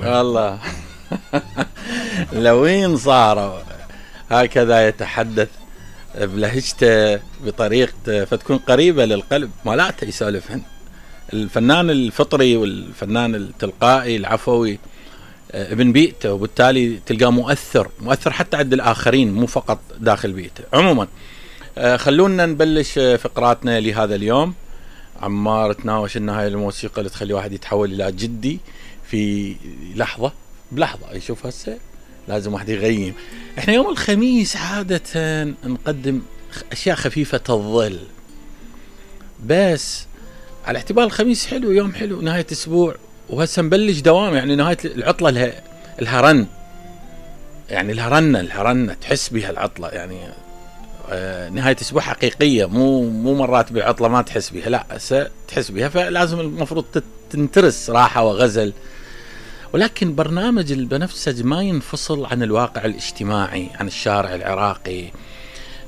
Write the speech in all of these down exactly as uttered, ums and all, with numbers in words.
والله لوين صاروا هكذا يتحدث بلهجته بطريقته فتكون قريبة للقلب، مالاته يسولفهن. الفنان الفطري والفنان التلقائي العفوي ابن بيئته، وبالتالي تلقاه مؤثر مؤثر حتى عند الآخرين مو فقط داخل بيئته. عموما خلونا نبلش فقراتنا لهذا اليوم. عمار تناوش ان هاي الموسيقى اللي تخلي واحد يتحول الى جدي في لحظة بلحظة. يشوف هسه لازم واحد يغيم. احنا يوم الخميس عادة نقدم اشياء خفيفة الظل، بس على اعتبار الخميس حلو، يوم حلو، نهاية اسبوع، وهسه نبلش دوام، يعني نهاية العطلة لها الهرن، يعني الهرنة الهرنة تحس بها العطلة، يعني آه نهاية اسبوع حقيقية، مو مو مرات بعطلة ما تحس بها، لا هسه تحس بها، فلازم المفروض تنترس راحة وغزل. ولكن برنامج البنفسج ما ينفصل عن الواقع الاجتماعي، عن الشارع العراقي.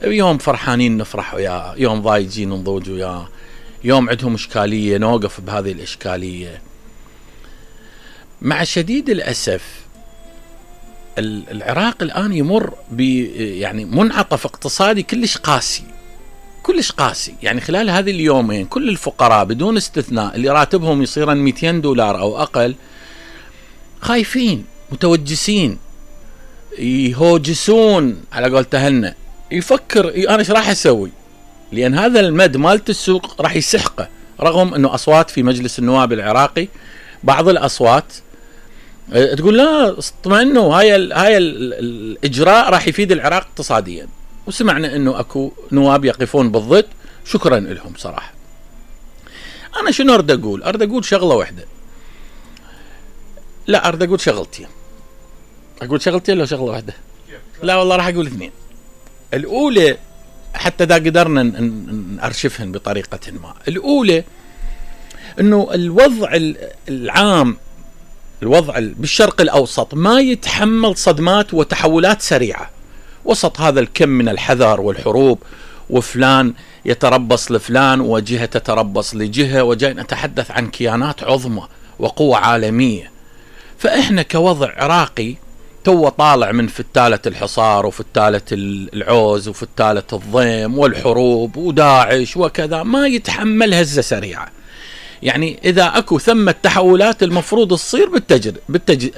يوم فرحانين نفرح وياه، يوم ضايجين نضوج وياه، يوم عندهم إشكالية نوقف بهذه الإشكالية. مع شديد الأسف العراق الآن يمر ب يعني منعطف اقتصادي كلش قاسي، كلش قاسي. يعني خلال هذه اليومين كل الفقراء بدون استثناء اللي راتبهم يصيرن مئتين دولار أو أقل خايفين، متوجسين، يهوجسون على قول تهنا، يفكر انا ايش راح اسوي، لان هذا المد مالت السوق راح يسحقه. رغم انه اصوات في مجلس النواب العراقي بعض الاصوات تقول لا اطمئنوا، هاي ال هاي ال الاجراء راح يفيد العراق اقتصاديا، وسمعنا انه اكو نواب يقفون بالضد، شكرا لهم صراحه. انا شنو اريد اقول؟ اريد اقول شغله واحده، لا اريد اقول شغلتين. اقول شغلتين لو شغله واحده؟ لا والله راح اقول اثنين. الاولى حتى اذا قدرنا نارشفهن بطريقه ما. الاولى انه الوضع العام، الوضع بالشرق الاوسط ما يتحمل صدمات وتحولات سريعه وسط هذا الكم من الحذر والحروب، وفلان يتربص لفلان وجهه تتربص لجهه، وجاي نتحدث عن كيانات عظمى وقوة عالمية. فإحنا كوضع عراقي تو طالع من فتالة الحصار وفتالة العوز وفتالة الضيم والحروب وداعش وكذا، ما يتحمل هزة سريعة. يعني إذا أكو ثم التحولات المفروض تصير بالتجر بالتج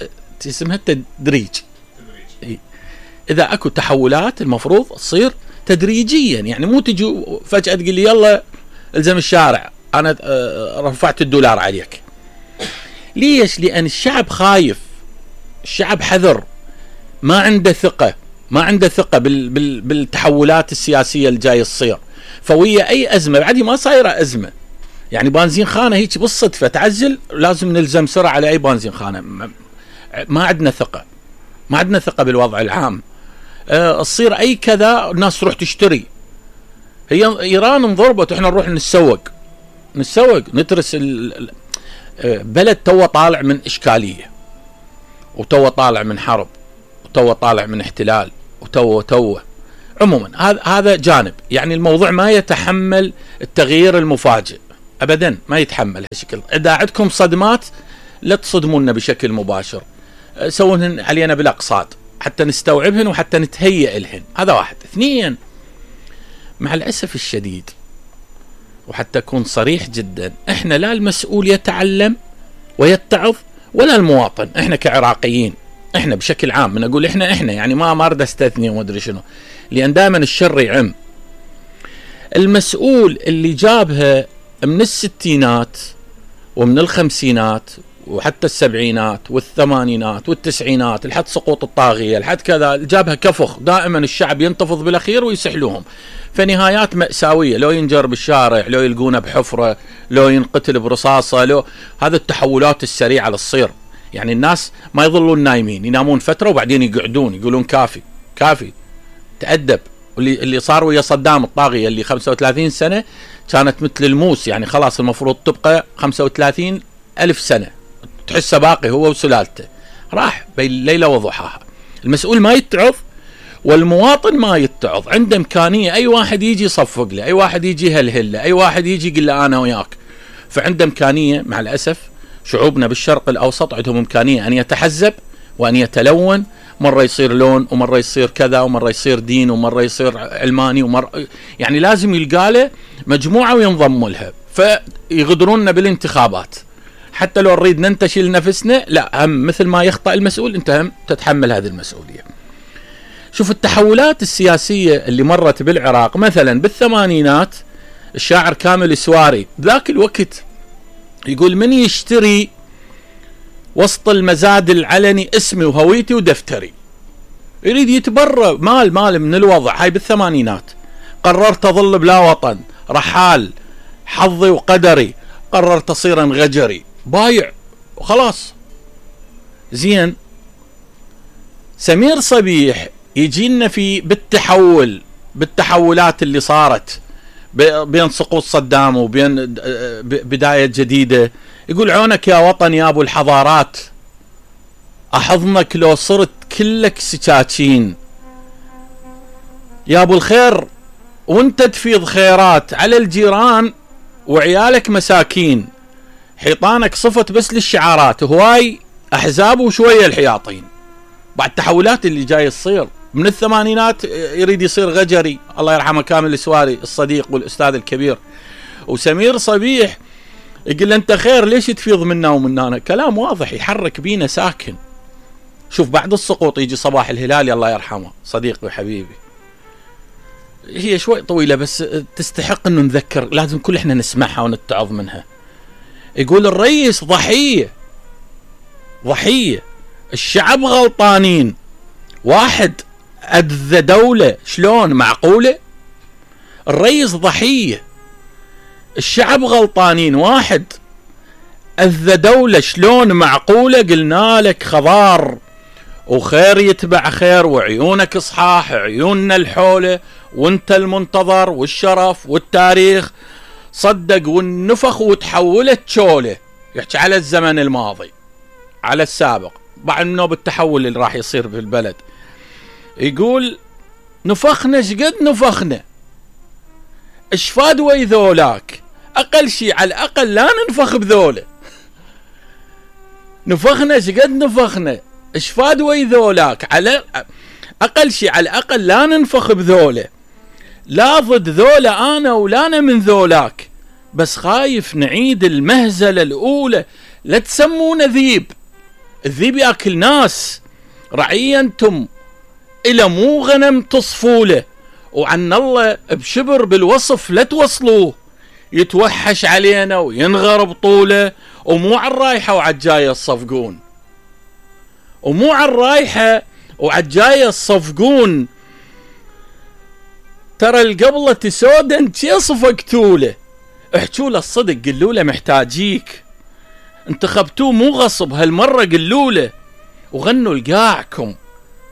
اسمها التدريج. إذا أكو تحولات المفروض تصير تدريجيا، يعني مو تجي فجأة تقول لي يلا الزم الشارع أنا رفعت الدولار عليك. ليش؟ لأن الشعب خايف، الشعب حذر، ما عنده ثقة، ما عنده ثقة بال بال بالتحولات السياسية اللي جاي تصير. فوية أي أزمة بعدي ما صايرة أزمة، يعني بنزين خانة هيك بالصدفة تعزل لازم نلزم سرعة على أي بنزين خانة. ما عندنا ثقة، ما عندنا ثقة بالوضع العام. أه تصير أي كذا الناس تروح تشتري. هي إيران انضربت وإحنا نروح نتسوق نتسوق نترس ال بلد تو طالع من إشكالية، وتو طالع من حرب، وتو طالع من احتلال، وتو تو عموما هذا هذا جانب. يعني الموضوع ما يتحمل التغيير المفاجئ أبدا، ما يتحمل هالشكل. إذا عندكم صدمات لا تصدمونا بشكل مباشر، سوونهن علينا بالأقصاد حتى نستوعبهن وحتى نتهيئ لهن. هذا واحد. اثنين، مع الأسف الشديد وحتى أكون صريح جدا، إحنا لا المسؤول يتعلم ويتعظ ولا المواطن. إحنا كعراقيين، إحنا بشكل عام، من أقول إحنا إحنا يعني ما ما أريد أستثني وما أدري شنو، لأن دائما الشر يعم. المسؤول اللي جابها من الستينات ومن الخمسينات وحتى السبعينات والثمانينات والتسعينات لحد سقوط الطاغية لحد كذا، جابها كفخ، دائما الشعب ينتفض بالأخير ويسحلوهم، فنهايات مأساوية، لو ينجر بالشارع، لو يلقونه بحفرة، لو ينقتل برصاصة، لو هذا التحولات السريعة اللي تصير. يعني الناس ما يظلون نايمين، ينامون فترة وبعدين يقعدون يقولون كافي كافي تأدب. واللي اللي صار ويا صدام الطاغية اللي خمسة وثلاثين سنة كانت مثل الموس، يعني خلاص المفروض تبقى خمسة وثلاثين ألف سنة، تحسه باقي هو وسلالته، راح بين ليلة وضحاها. المسؤول ما يتعظ والمواطن ما يتعظ. عنده إمكانية أي واحد يجي يصفق له، أي واحد يجي يهلهل له، أي واحد يجي يقول له أنا وياك. فعنده إمكانية مع الأسف شعوبنا بالشرق الأوسط عندهم إمكانية أن يتحزب وأن يتلون، مرة يصير لون ومرة يصير كذا ومرة يصير دين ومرة يصير علماني ومرة يعني لازم يلقى له مجموعة وينضم لها، فيغدروننا بالانتخابات. حتى لو نريد ننتشل نفسنا لا، هم مثل ما يخطأ المسؤول أنت هم تتحمل هذه المسؤولية. شوف التحولات السياسية اللي مرت بالعراق مثلا بالثمانينات، الشاعر كامل السواري ذاك الوقت يقول من يشتري وسط المزاد العلني اسمي وهويتي ودفتري، يريد يتبرى مال مال من الوضع. هاي بالثمانينات. قررت أظل بلا وطن، رحال، حظي وقدري، قررت أصير غجري، بايع وخلاص. زين، سمير صبيح يجينا في بالتحول بالتحولات اللي صارت بين سقوط صدام وبين بداية جديدة، يقول عونك يا وطن يا أبو الحضارات، أحضنك لو صرت كلك سكاكين، يا أبو الخير وانت تفيض خيرات على الجيران وعيالك مساكين، حيطانك صفت بس للشعارات، هواي أحزاب وشوية الحياطين. بعد التحولات اللي جاي تصير من الثمانينات يريد يصير غجري، الله يرحمه كامل السواري الصديق والأستاذ الكبير. وسمير صبيح يقول أنت خير ليش تفيض منا ومنانا، كلام واضح يحرك بينا ساكن. شوف بعد السقوط يجي صباح الهلالي الله يرحمه صديقي وحبيبي، هي شوي طويلة بس تستحق أنه نذكر، لازم كل إحنا نسمعها ونتعظ منها. يقول الرئيس ضحية ضحية الشعب غلطانين، واحد أذى دولة شلون معقولة؟ الرئيس ضحية الشعب غلطانين، واحد أذى دولة شلون معقولة؟ قلنا لك خضار وخير يتبع خير وعيونك صحاح، عيوننا الحولة وانت المنتظر والشرف والتاريخ صدق والنفخ وتحولت شولة. يحكي على الزمن الماضي على السابق بعد منه بالتحول اللي راح يصير في البلد. يقول نفخنا شقد نفخنا، اشفاد ويذولاك، اقل شيء على الاقل لا ننفخ بذوله. نفخنا شقد نفخنا اشفاد ويذولاك، على اقل شيء على الاقل لا ننفخ بذوله، لا ضد ذوله انا ولا انا من ذولاك، بس خايف نعيد المهزله الاولى. لا تسمونا ذيب، الذيب ياكل ناس، رعية انتم الى مو غنم تصفوله، وعن الله بشبر بالوصف لا توصلوه، يتوحش علينا وينغر بطوله، ومو عالرايحة وعالجاية الصفقون، ومو عالرايحة وعالجاية الصفقون، ترى القبلة تسودا شي صفقتوله، احجوا له الصدق قلوا له محتاجيك، انتخبتوه مو غصب هالمرة قلوا له، وغنوا لقاعكم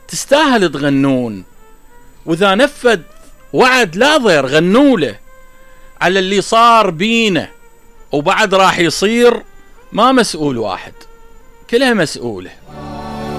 تستاهل تغنون، واذا نفذ وعد لا ضير غنوا له على اللي صار بينا وبعد راح يصير، ما مسؤول واحد كلها مسؤوله.